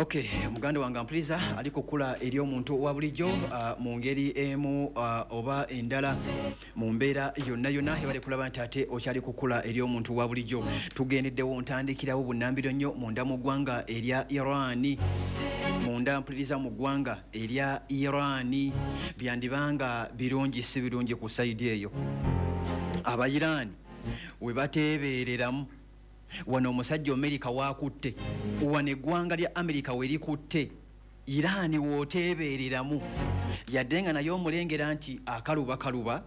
Ok, muganda wange ampuliriza ali kukula eri omuntu wa bulijjo mu ngeri emu oba endala, mu mbeera yonna yonna ebali kulaba nti ate okyali kukula eri omuntu wa bulijjo. Tugendeddewo, ntandikirawo bunnambiro nnyo munda mu ggwanga erya Irani, munda mpuliriza mu ggwanga erya Irani. Byandibanga birungi si birungi ku side eyo Abairani we bateebereramu. Wano omusajja Amerika wakutte, wano eggwanga lya Amerika werikutte Irani wooteebereramu, yadde nga naye omulengera nti akaluba kaluba,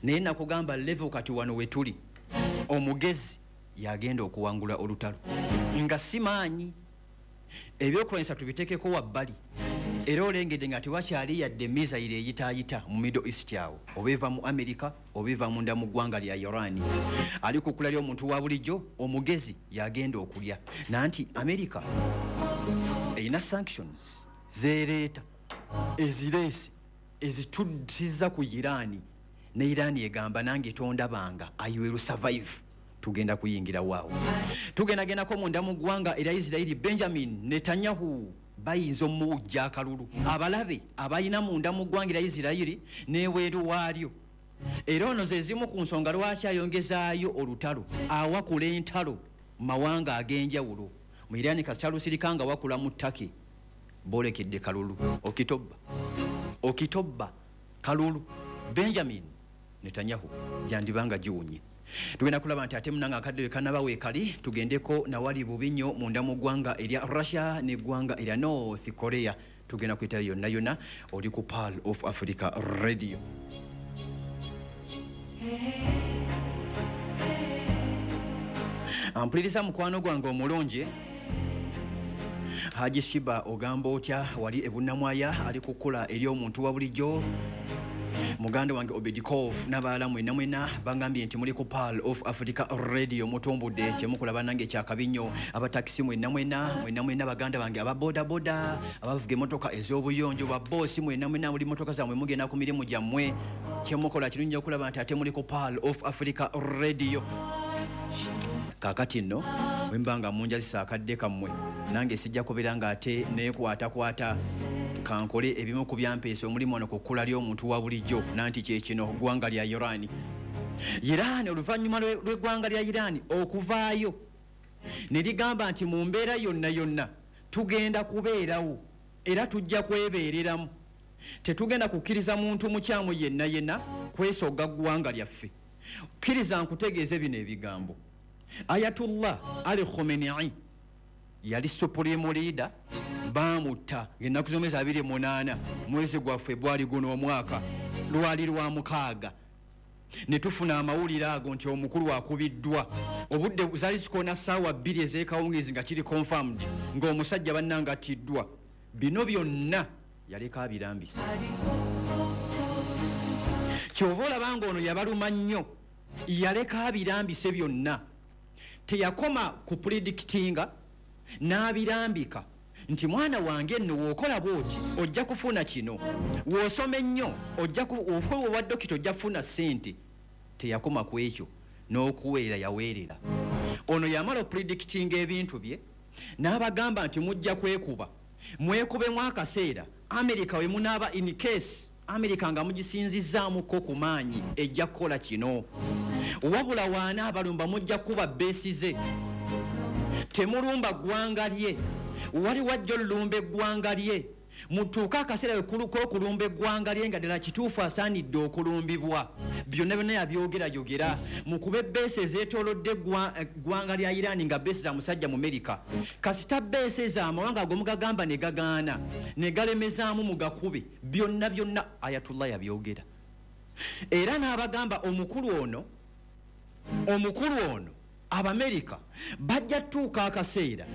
naye nakugamba level kati wano wetuli, omugezi yagenda okuwangula olutalo nga si maanyi. Ebyokulwanyisa tubitekeko wabbali, era olengedde nga tewakyali yadde missile eyitaayita mu Middle East awo, oba eva mu America oba eva munda mu ggwanga lya Iran. Ali kukula ly'omuntu wa bulijjo, omugezi yagenda okulya nanti America erina sanctions zereeta, ezireese ezitusiza ku Iran, ne Iran egamba nange tondabanga, I will survive. Tugenda kuyingira waawo, tugendagendako munda mu ggwanga erya Isirairi. Benjamin Netanyahu bayinza omuwujja akalulu abalabe abalina munda mu ggwanga erya Isirayiri n'ebweru waalyo. Era ono ze zimu ku nsonga lwaki ayongezaayo olutalo, awakula entalo mu mawanga ag'enjawulo. Mu Irani kasita nga wakula mu Turkey, boolekedde kalulu Okitobba, Okitobba kalulu Benjamin Netanyahu gyandibanga giwunye. Tugenda kulaba nti ate munanga akadde we kanaba weekali, tugendeko nawali bubi nnyo munda mu ggwanga erya Russia n'eggwanga erya North Korea. Tugenda kuyitayo yonna yonna. Oli ku Pearl of Africa Radio. Ampuliriza mukwano gwange omulungi Haji Shiba, ogamba otya wali ebunamwaya? Ali kukula eri omuntu wa bulijjo. Muganda wange Obedikov n'abalala mwena mwena bangambye nti muli ku Pearl of Africa Radio, mutumbudde kyemukola bannange kyakabi nnyo. Abatakisi mwena mwena, mwena mwena, baganda bange aba bodaboda, abavuga emotoka ez'obuyonjo, baboosi mwena mwena, muli motoka zammwe mugenda ku mirimu gyammwe, kyemukola kirungi okulaba nti ate muli ku Pearl of Africa Radio. Kaakati nno bwe mba nga munjazisa akadde kammwe, nange sijja kubeera nga ate neekwatakwata, kankole ebimu ku byampeesa omulimu wano ku kkula ly'omuntu wa bulijjo. Nanti kyekino, ggwanga lya Iran. Iran, oluvannyuma lw'eggwanga lya Iran okuvaayo ne ligamba nti mu mbeera yonna yonna tugenda kubeerawo era tujja kwebeereramu, tetugenda kukkiriza muntu mukyamu yenna yenna kwesogga ggwanga lyaffe. Kkiriza nkutegeeze bino ebigambo. Ayatullah Ali Khomenei yali supreme leader, bamutta ngaennaku z'omwezi 28 mwezi gwa Febwali guno omwaka, lwali lwa 6, ne tufuna amawulire ago nti omukulu akubiddwa. Obudde zaali zikoona ssaawa 2 ez'ekawungeezi nga kiri confirmed ng'omusajja bannanga attiddwa. Bino byonna yaleka abirambisa. Kyova olaba nga ono yabaluma nnyo, yaleka abirambise byonna. Teyakoma ku predictinga, n'abirambika nti mwana wange nno wookola bwoti ojja kufuna kino, w'osoma ennyo ojja oba dokita ojja kufuna ssente. Teyakoma ku ekyo, n'okuweerera yaweerera. Ono yamala opredictinga ebintu bye n'abagamba nti mujja kwekuba, mwekubemu akaseera Amerika we munaaba, in case Amerika nga mugisinzizaamuko ku maanyi ejja kukola kino, wabula waana abalumba mujja kuba base ze, temulumba ggwanga lye. Wali wajja olulumba eggwanga lye, mutuuke akaseera k'okulumba eggwanga lye nga ddala kituufu asaanidde okulumbibwa. Byonna byonna yabyogerayogera. Mukube base ezeetoolodde eggwanga lya Irani nga base za musajja mu Merika. Kasita base ezo amawanga ago mugagamba ne gagaana ne galemezaamu, mugakube. Byonna byonna Ayatullah yabyogera, era n'abagamba omukulu ono, omukulu ono Abamerika bajja tuuka akaseera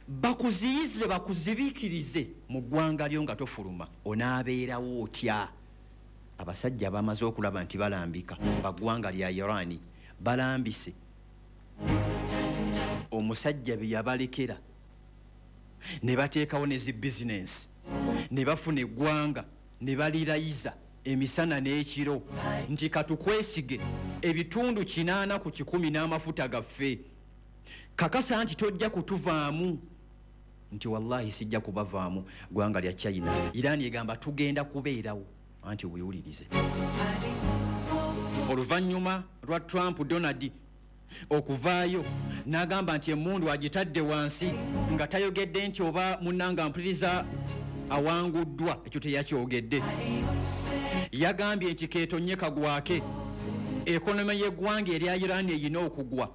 bakuziyize, bakuzibiikirize mu ggwanga lyo nga tofuluma, onaabeerawo otya? Abasajja bamaze okulaba nti balambika baggwanga lya Irani, balambise omusajja bye yabalekera ne bateekawo ne zi bizinensi ne bafuna eggwanga ne balirayiza emisana n'ekiro nti katukwesige ebitundu 80% n'amafuta gaffe, kakasa nti tojja kutuvaamu. Nti wallahi sijja kubavaamu ggwanga lya China. Iran egamba tugenda kubeerawo, anti weewulirize. Oluvannyuma lwa Trump Donald okuvaayo n'agamba nti emmundu agitadde wansi, nga tayogedde nti oba munnanga mpuliriza awanguddwa, ekyo teyakyogedde. Yagambye nti keetonye kagwake, economy y'eggwanga erya Iran eyina okugwa,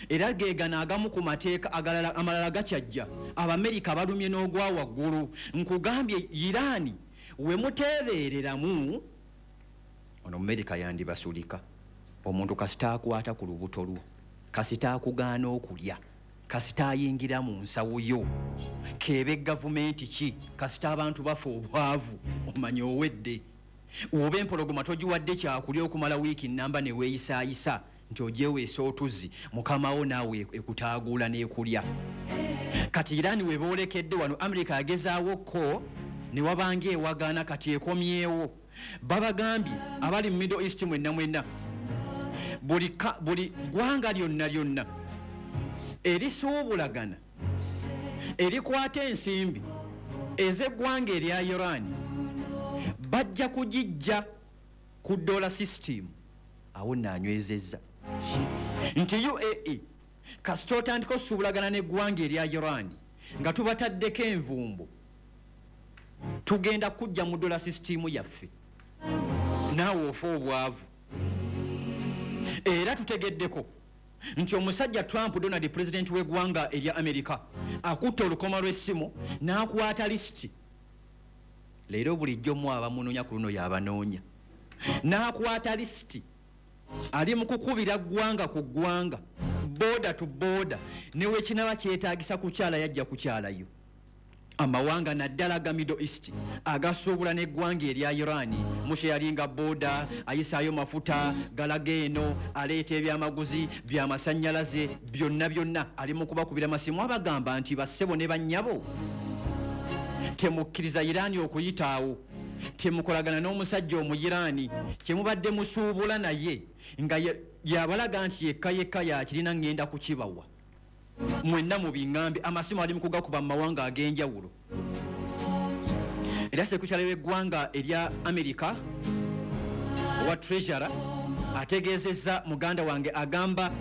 era geegano agamu ku mateeka agalala amalala gakyajja. Abamerika balumye n'ogwa waggulu. Nkugambye Iran we muteebeereramu, ono Mumerika yandibasulika. Omuntu kasita akwata ku lubuto lwo, kasita akugaana okulya, kasita ayingira mu nsawo yo, keebe gavumenti ki, kasita abantu bafa obwavu, omanya owedde. Oba empologoma togiwadde kyakulya okumala wiiki nnamba ne weeyisaayisa nti ogyeweesa otuzzi, mukamawo naawe ekutaaguula n'ekulya. Kati Iran we boolekedde wano, Amerika yagezaawo ko ne wabanga ewagaana, kati ekomyewo. Babagambye abali mu Middle East mwenna mwenna, buli ggwanga lyonna lyonna erisuubulagana erikwata ensimbi ez'eggwanga erya Iran bajja kugijja ku dollar system. Awo naanywezezza nti UAE kasita otandika osuubulagana n'eggwanga erya Iran nga tubataddeko envumbo, tugenda kujja mu dollar system yaffe, naawe ofa obwavu. Era tutegeddeko nti omusajja Trump Donald, president w'eggwanga erya Amerika, akutte olukoma lw'essimu n'akwata lisiti. Leero bulijjo mu abamunoonya ku luno y'abanoonya, n'akwata lisiti, ali mu kukubira ggwanga ku ggwanga, border to border, ne wekinaba kyetaagisa kukyala yajja kukyalayo. Amawanga naddala ga Middle East agasuubula n'eggwanga erya Iran, musheyalinga border, ayisaayo mafuta galaga eno, aleeta ebyamaguzi byamasannyalaze byonna byonna, ali mu kubakubira masimu abagamba nti bassebo ne bannyabo, temukkiriza Iran okuyitaawo, temukolagana n'omusajja Omuyiraani kyemubadde musuubula naye nga yabalaga nti yekka yekka yakirina, ngenda kukibawa mwenna mu biŋŋambe. Amasimu ali mu kugakuba mu mawanga ag'enjawulo. Era sekukyala w'eggwanga erya Amerika owa Treasurer ategeezezza muganda wange, agamba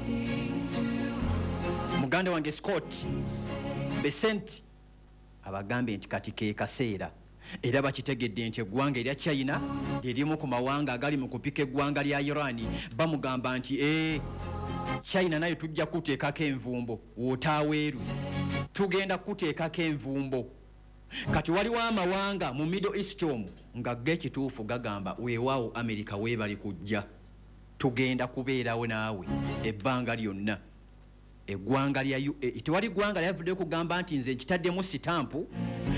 muganda wange Scott Bessent, abagambye nti kati ke kaseera. Era bakitegedde nti eggwanga erya China lyerimu ku mawanga agali mu kupika eggwanga lya Iran. Bamugamba nti China nayo tujja kuteekako envumbo, wotaaweeru tugenda kuteekako envumbo. Kati waliwo amawanga mu Middle East omwo nga ge ekituufu gagamba weewaawo Amerika weebali kujja, tugenda kubeerawo naawe ebbanga lyonna. Eggwanga lya UAE tewali ggwanga lyavuddeyo kugamba nti nze nkitaddemu sitampu,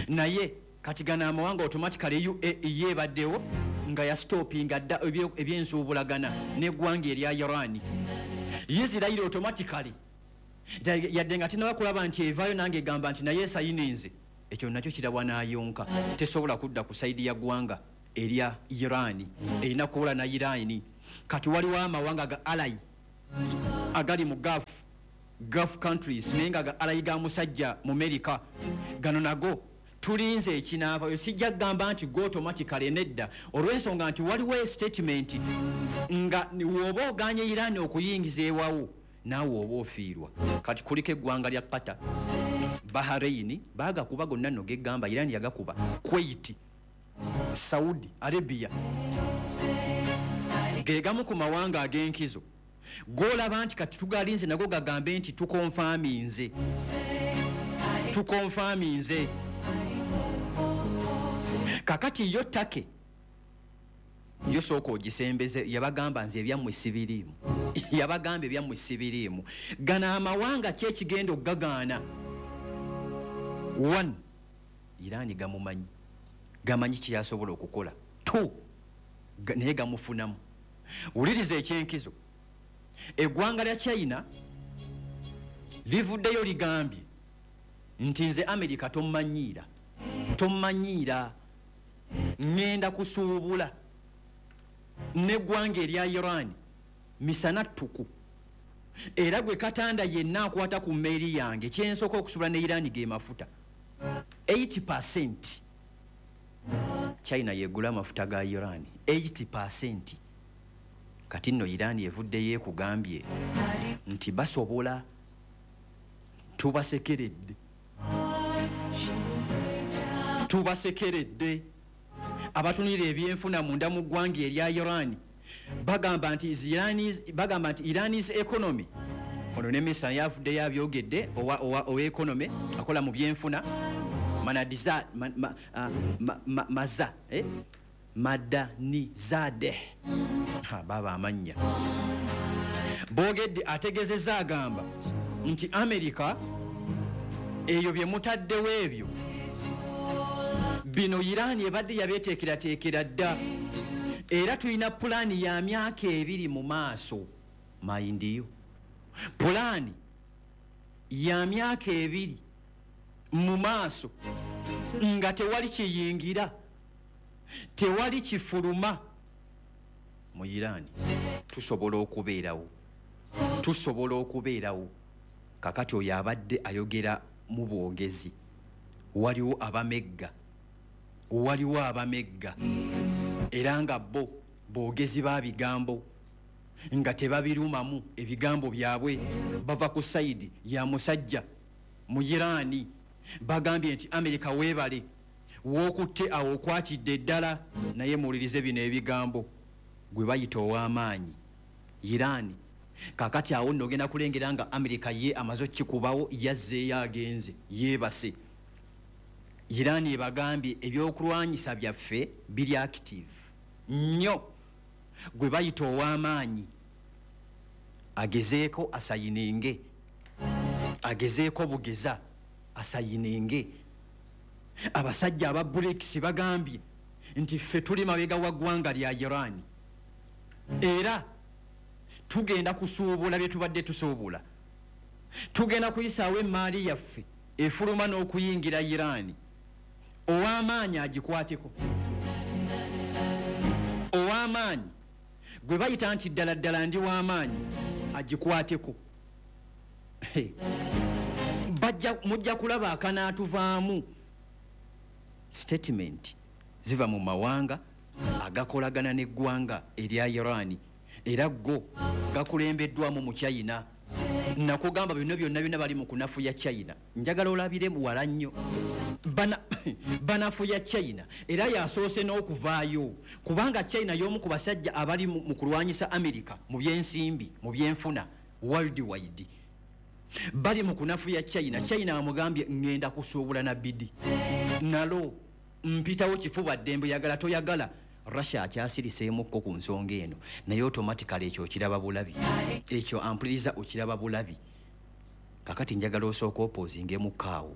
naye kati gano amawanga automatically UAE yeebaddewo nga yasitopinga dda ebyensuubulagana n'eggwanga erya Iran. Israel automatically yadde nga tenaba kulaba nti evaayo nange egamba nti naye esayininze, ekyo nakyo kirabwa n'ayonka, tesobola kudda ku sayidi ya ggwanga erya Iran, erina kuwola na Iran. Kati waliwo amawanga ga ally agali mu Gulf countries, naye nga ga ally ga musajja mu Amerika, gano nago tulinze ekinaavayo. Sijja kugamba nti go automatically nedda, olw'ensonga nti waliwo statement nga w'oba oganye Iran okuyingiza ewawo naawe oba ofiirwa. Kati kuliko eggwanga lya Qatar, Bahrain baagakuba gonna nno gegamba Iran yagakuba, Kuwait, Saudi Arabia, ge gamu ku mawanga ag'enkizo g'olaba nti kati tugalinze nago gagambe nti tukonfaminze, tukonfaminze. Kakati yo Turkey yo sooka ogisembeze, yabagamba nze ebyammwe sibiriimu, yabagamba ebyammwe sibiriimu. Gano amawanga ki ekigenda okugagaana? 1, Iran gamumanyi, gamanyi kyeyasobola okukola. 2, naye gamufunamu. Wuliriza ekyenkizo, eggwanga lya China livuddeyo ligambye nti nze Amerika tommanyiira, tommanyiira, ŋŋenda kusuubula n'eggwanga erya Iran misana ttuku, era gwe katanda yenna akwata ku mmeeri yange kyensooka okusuubula ne Iran ge mafuta. 80% China yegula amafuta ga Iran 80%. Kati nno Iran evuddeyo ekugambye nti basobola, tubasekeredde, tubasekeredde. Abatunira ebyenfuna munda mu ggwanga erya Iran bagamba nti bagamba nti Iran's economy, ono ne minisita naye avuddeyo abyogedde, owa economy akola mu byenfuna Manadiza, ma, ma, ma, ma, maza, eh? Madanizadeh, baba amannya boogedde, ategezezza agamba nti America eyo bye mutaddewo ebyo bino Iran ebadde yabeeteekerateekera dda, era tulina pulaani ya myaka 2 mu maaso. Mayindiyo pulaani ya myaka 2 mu maaso nga tewali kiyingira, tewali kifuluma mu Iran. Tusobola okubeerawo, tusobola okubeerawo. Kakati oyo abadde ayogera mu bwogezi, waliwo abamegga, waliwo abamegga era nga bo boogezi ba bigambo nga tebabirumamu ebigambo byabwe, bava ku sayidi ya musajja mu Iran. Bagambye nti America weebale wookutte awo okwatidde ddala, naye muwulirize bino ebigambo gwe bayita ow'amaanyi Iran. Kakati awo nno ogenda kulengera nga America ye amaze okukikubawo, yazzeeyo agenze yeebase. Iran ebagambye ebyokulwanyisa byaffe biri active nnyo, gwe bayita ow'amaanyi agezeeko asayinenge, agezeeko bugeza asayinenge. Abasajja aba BRICS bagambye nti ffe tuli mabega wa ggwanga lya Iran, era tugenda kusuubula bye tubadde tusuubula, tugenda kuyisaawo emmaali yaffe efuluma n'okuyingira Iran. Ow'amaanyi agikwateko, ow'amaanyi gwe bayita nti ddala ddala ndi w'amaanyi agikwateko. Mujja kulaba akanaatuvaamu. Statement ziva mu mawanga agakolagana n'eggwanga erya Iran, era go gakulembeddwamu mu China. Nakugamba bino byonna byonna bali mu kunafuya China. Njagala olabire wala nnyo, banafuya China, era yasoose n'okuvaayo kubanga China y'omu ku basajja abali mu kulwanyisa America mu byensimbi, mu byenfuna worldwide. Bali mu kunafuya China. China amugambye ngenda kusuubula na bidi nalo mpitawo kifuba ddembe, yagala toyagala. Russia akyasiriseemukko ku nsonga eno, naye automatically ekyo okiraba bulabi, ekyo ampuliriza okiraba bulabi. Kakati njagala osooka opoozingemukko awo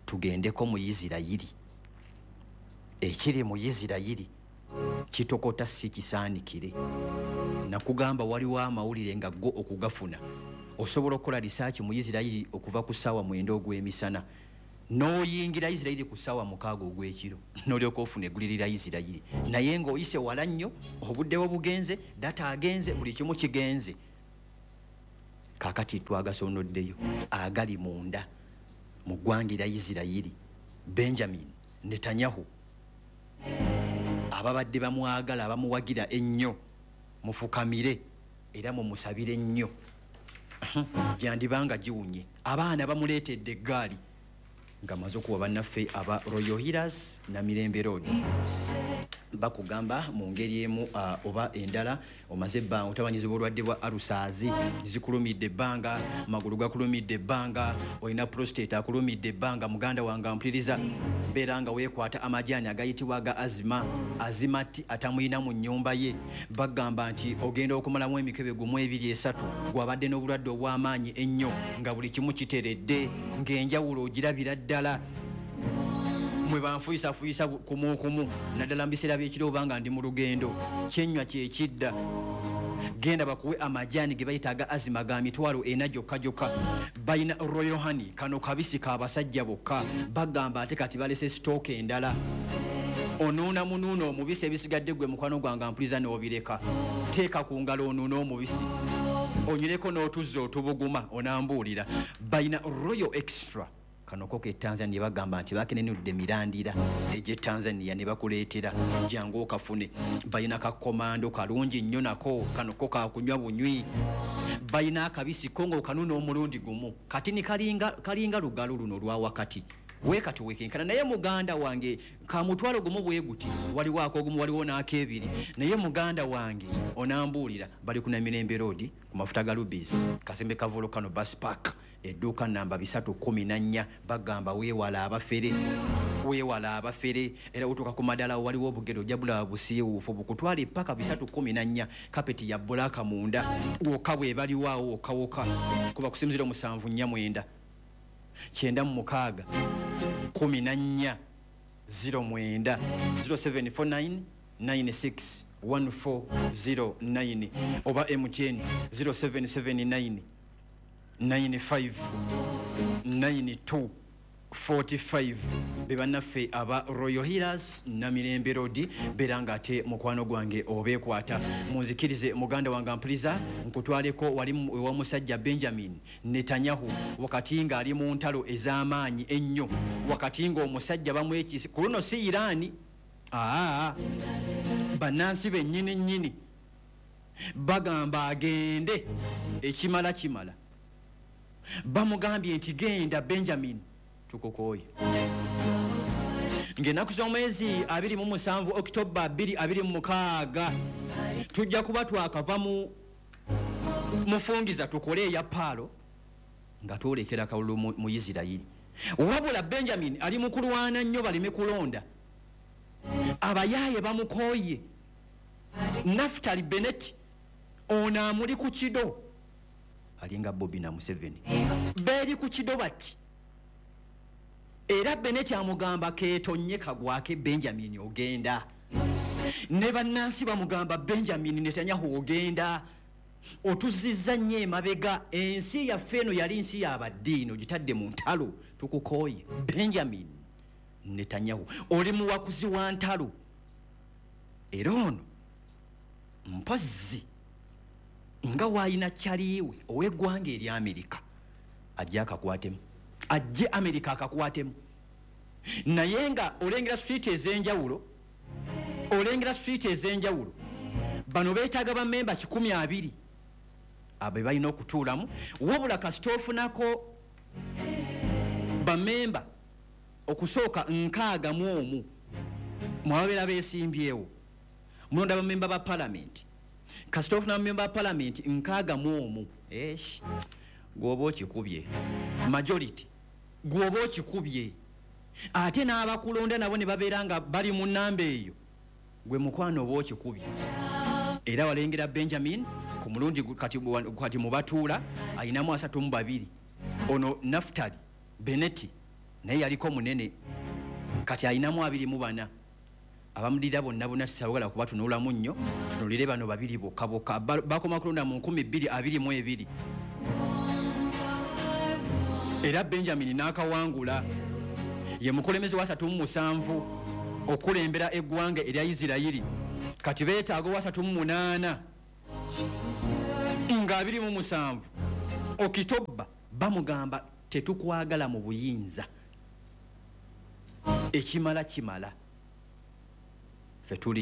tugendeko mu Isirayiri. Ekiri mu Isirayiri kitokota si kisaanikire. Nakugamba waliwo amawulire nga go okugafuna osobola okukola research mu Isirayiri okuva ku ssaawa 9 ogw'emisana n'oyingira Isirayiri ku ssaawa 6 ogw'ekiro n'olyoka ofuna eggulire lya Isirayiri, naye ng'oyise wala nnyo, obudde bwo bugenze, data agenze, buli kimu kigenze. Kaakati twagasonoddeyo agali munda mu ggwanga erya Isirayiri. Benjamin Netanyahu ababadde bamwagala abamuwagira ennyo mufukamire era mumusabire nnyo, gyandibanga giwunye. Abaana bamuleetedde eggaali nga maze okuwa bannaffe aba Royal Healers na Mirembe Road. Bakugamba mu ngeri emu oba endala omaze ebbanga otabanyizibwa obulwadde bwa alusaazi, zikulumidde ebbanga, amagulu gakulumidde ebbanga, olina prostate akulumidde ebbanga. Muganda wange ampuliriza, beera nga weekwata amajaani agayitibwa aga azima, azima ti atamuyina mu nnyumba ye. Bagamba nti ogenda okumalamu emikebe 1 2 3 gwabadde n'obulwadde obw'amaanyi ennyo nga buli kimu kiteredde, ng'enjawulo ogirabira ddala. Mwe banfuyisafuyisa kumu kumu, naddala mu biseera by'ekiro oba nga ndi mu lugendo, kyenywa kyekidda. Genda bakuwe amajaani ge bayita aga azima ga 400 gyokka gyokka. Balina Royal Honey, kano kabisi ka basajja bokka. Bagamba ate kati balese sitooka endala. Onuuna munuuna omubisi, ebisigadde gwe mukwano gwange ampuliza n'obireka. Teeka ku ngalo onuune omubisi, onyweko n'otuzzi otubuguma, onambuulira. Balina Royal Extra. Kano ko ke Tanzania, bagamba nti bakenenudde mirandira egy'e Tanzania ne bakuleetera, jangu okafune. Balina kakomando kalungi nnyo nako, kano ko kakunywa bunywi. Balina akabisi ko ng'okanuna omulundi gumu, kati ni kalinga lugalo luno lwa wakati weekati wekenkana. Naye muganda wange, ka mutwalo gumu bwe guti, waliwo akogumu, waliwo n'akebiri. Naye muganda wange onambuulira, bali ku Namirembe Road ku mafuta ga Rubis, kasembe ka Volcano Bus Park, edduuka namba 314. Bagamba weewala abafere, weewala abafere. Era otuuka ku madala, waliwo obugere ojja bulaba busiiwuufu bukutwala epaka 314, kapeti ya black munda wokka bwe baliwo wokka wokka. Kuba kusimu 0749 96 14 09, 0749 96 1409, oba MTN 0779 95 92 45. Be bannaffe aba Royal Healers, Namirembe Road. Beera nga ate mukwano gwange obeekwata. Munzikirize muganda wange ampuliriza, nkutwaleko wali ewa musajja Benjamin Netanyahu, wakati ng'ali mu ntalo ez'amaanyi ennyo, wakati ng'omusajja bamwekisi ku luno si Iraani, aa, bannansi bennyini nnyini bagamba agende, ekimala kimala. Bamugambye nti genda Benjamin, tukukooye. Ng'ennaku z'omwezi 27 Okitoba 2026, tujja kuba twakava mu mufungiza tukole eya paalo nga twolekera kalulu mu Isirayiri. Wabula Benjamin ali mu kulwana nnyo baleme kulonda. Abayaaye bamukooye. Naftali Bennett ono amuli ku kido, alinga Bobi na Museveni, beeri ku kido bati. Era Bennett amugamba keetonye kagwake, Benjamin ogenda. Ne bannansi bamugamba, Benjamin Netanyahu ogenda, otuzizza nnyo emabega. Ensi yaffe eno yali nsi yabaddiini, ogitadde mu ntalo, tukukooye. Benjamin Netanyahu oli muwakuzi wa ntalo. Era ono mpozzi nga waayina kyaliiwe ow'eggwanga erya Amerika, ajje akakwatemu, ajje Amerika akakwatemu. Naye nga olengera street ez'enjawulo, olengera street ez'enjawulo, bano beetaaga bamemba 120 abe balina okutuulamu. Wabula kasita ofunako bamemba okusooka 61 mwababeera beesimbyewo, mulonda bamemba ba palamenti, kasita ofuna bamemba ba palamenti 61, esh, gwoba okikubye majority, gwoba okikubye. Ate n'abakulonda nabo ne babeera nga bali mu namba eyo, gwe mukwano oba okikubye. Era walengera Benjamin ku mulundi kati mu batuula ayinamu 32. Ono Naftali Bennett naye yaliko munene, kati ayinamu 24. Abamulira bonna bonna sisabagala kubatunulamu nnyo, tunulire bano babiri bokka bokka. Bakoma kulonda mu 2022, era Benjamin n'akawangula. Ye mukulembeze wa 37 okulembera eggwanga erya Isirayiri. Kati beetaaga owa 38 nga 27 Okitoba bamugamba tetukwagala mu buyinza, ekimala kimala, ffe tuli